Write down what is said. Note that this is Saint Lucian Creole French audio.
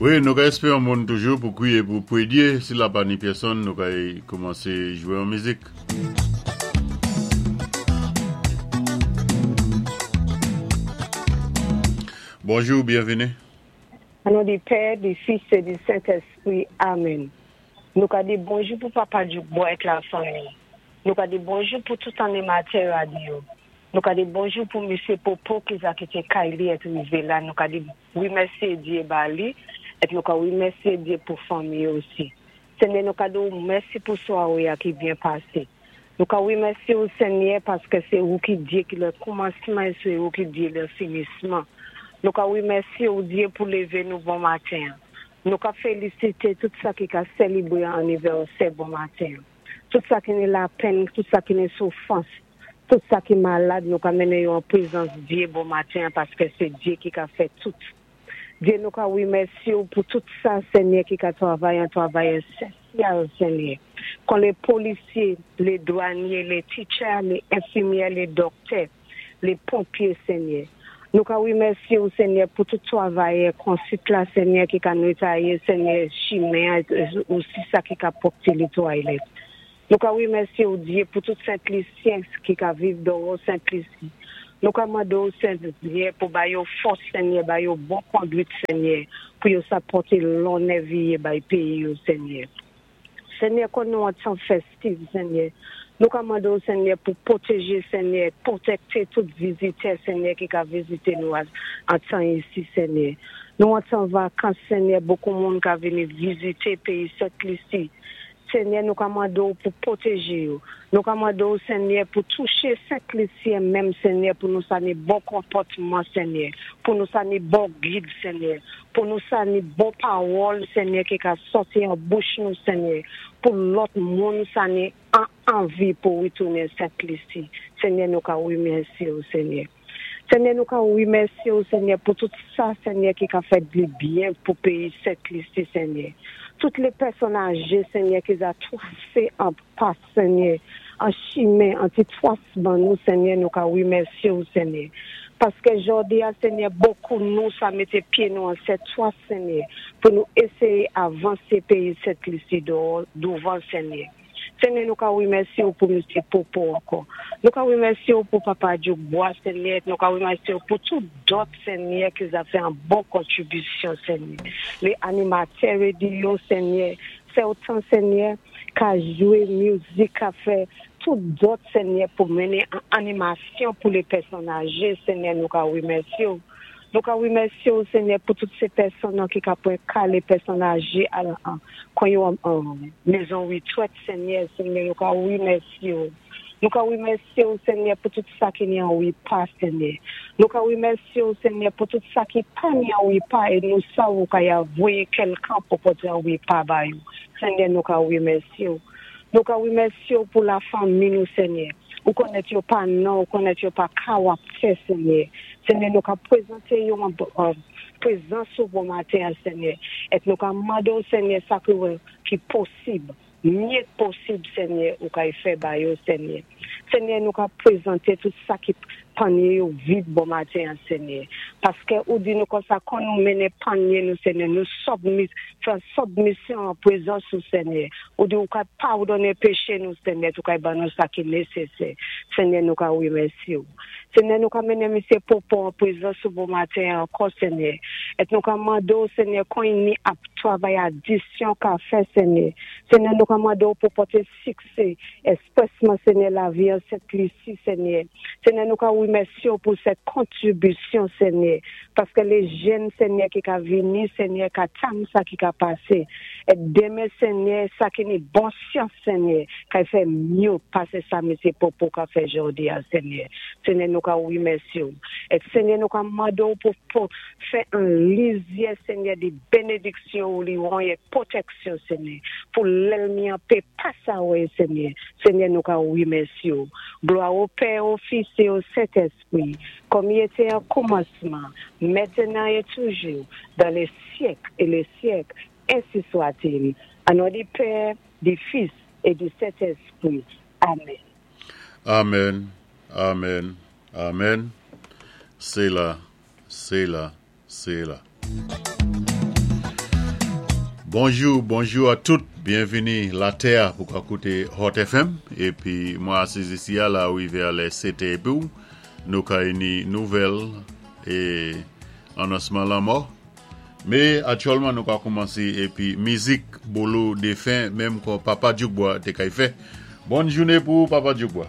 Wi, nou ka éspé yon moun toujou pou kwiyé pou pwédyé. Si la pa ni pèsonn, nou kay koumansé jwé yon mizik. Bonjou, byenvini. O non di Pè, di Fis é di Sentèspri. Amèn. Nou ka di bonjou pou Papa Djoukbò èk lafanmi. Nou ka di bonjou pou tout animatè radyo. Nou ka di bonjou pou Misye Popo ki za kité kay li èt rivé la. Nou ka di Remèsyé Dye ba li èt nou ka remèsyé Dye pou fanmi osi. Senyè nou ka di w mèsi pou swaré a ki byen pasé. Nou ka remèsyé w Senyè paskè sé ou ki Dye ki lè koumansman é sé ou ki Dye lè finisman. Nou ka remèsyé w Dye pou lévé nou bon maten an. Nou ka félisité tout sa ki ka sèlibré anivèsè bon maten an. Tout sa ki ni lapenn, tout sa ki ni soufrans, tout sa ki malad nou ka mennen yo an prezans Dye bon maten an paskè se Dye ki ka fè tout. Dye nou ka remèsye w pou tout sa Senyè ki ka travay an travay esensyal Senyè kon le polisye, le dwanye, le teacher, le enfimyè, le dòktè, le ponpye Senyè. Nou ka remèsye w Senyè pou tout travayè konsit la Senyè ki ka netwaye Senyè chimen an osi sa ki ka pwòpte le toilet. Nou ka remèsye w Dye pou tout Sent Lisyen ki ka viv dòwò Sent Lisi. Nou ka mande w Senyè pou ba yo fòs Senyè ba yo bon kondwit Senyè pou yo sa pòte lonnè viye bay peyi yo Senyè. Senyè kon nou an tan fèstiv Senyè nou ka mande w Senyè pou pwoteje Senyè pwotèkte tout vizitè Senyè ki ka vizite nou an tan isi Senyè nou an tan vakans Senyè bokou moun ka vini vizite peyi Sent Lisi Senyè nou ka mande w pou pwoteje yo nou ka mande w Senyè pou touche Sent Lisyen menm Senyè pou nou sa ni bon konpòtman Senyè pou nou sa ni bon gid Senyè pou nou sa ni bon pawòl Senyè ki ka sòti an bouch nou Senyè pou lòt moun sa ni an anvi pou ritounen Sent Lisi Senyè nou ka remèsye w Senyè Senyè nou ka remèsye w Senyè pou tout sa Senyè ki ka fè di byen pou peyi Sent Lisi Senyè tout le pèsonn aje Senyè ki za twase an pas Senyè an chimen an ti twas ban nou Senyè nou ka remèsye w Senyè paskè jòdi a Senyè bokou nou sa mete pye nou an sèt twas Senyè pou nou eseye avanse peyi Sent Lisi douvan Senyè Senyè nou ka remèsye w pou misye Popo ankò nou ka remèsye w pou papa Djoukbwa Senyè nou ka remèsye w pou tout dòt Senyè ki za fè an bon kontribisyon Senyè le animatè rediyo Senyè fè w tan Senyè ka jwe mizik ka fè tout dòt Senyè pou mennen an animasyon pou le pèsonn aje Senyè nou ka remèsye w nou ka remèsye w Senyè pou tout se pèsonn an ki ka pran ka le pèsonn aje al an kon yo an mezon retrèt Senyè Senyè nou ka remèsye w nou ka remèsye w Senyè pou tout sa ki ni an repa Senyè nou ka remèsye w Senyè pou tout sa ki pa ni an repa e nou sa ou ka ya voye kèlkan pou pote an repa ba yo Senyè nou ka remèsye w. Nou ka remèsye w pou lafanmi nou Senyè. Ou konnèt yo pa non, ou konnèt yo pa kawaptè Senyè. Senyè nou ka prezante yo an prezans ou bon maten an Senyè. Et nou ka mande w Senyè sa ki wè ki posib, mye k posib Senyè ou kay fè ba yo Senyè. Senyè nou ka prezante tout sa ki panye yo vid bon maten an Senyè paskè ou di nou konsa kon nou mennen panye nou Senyè nou sòbmis fè sòbmisyon an prezans ou Senyè ou di ou ka padone peche nou Senyè ou ka ban nou sa ki nesesè Senyè nou ka remèsye ou Senyè nou ka mennen misye Popo an prezans ou bon maten an ankò Senyè et nou ka mande ou Senyè kon ni ap travay adisyon ka fè Senyè Senyè nou ka mande ou pou pote siksè espresman Senyè lavi an Sent Lisi Senyè Senyè nou ka remèsye w pou sèt kontribisyon Senyè paske le jèn Senyè ki ka vini Senyè ka tann sa ki ka pase et demen Senyè sa ki ni bon syans Senyè kay fè mye pase sa mesye Popo ka fè jodi a Senyè Senyè nou ka remèsye w et Senyè nou ka mande w pou pou fè an lizyè Senyè de benediksyon ou li won et pwotèksyon Senyè pou lèlmi an pe pa sa wè Senyè Senyè nou ka remèsye w glwa o Pè o Fis e o Sentespri kòm i ete an koumansman mètenan e toujou dan le syèk e le syèk ensi swatil an non di Pè di Fis e di Sentespri amèn. Amen amen amen sela sela sela. Bonjou, bonjou a tout, byenvini latè a pou ka kouté Hot FM. Épi mwen asiz isi a la rivé a lè 7 è épi nou ka ni nouvèl é anonsman lanmò. Mé aktyèlman nou ka koumansé épi mizik Bolo défen menm kon Papa Dyoukbwa té kay fè. Bòn jouné pou ou, Papa Dyoukbwa.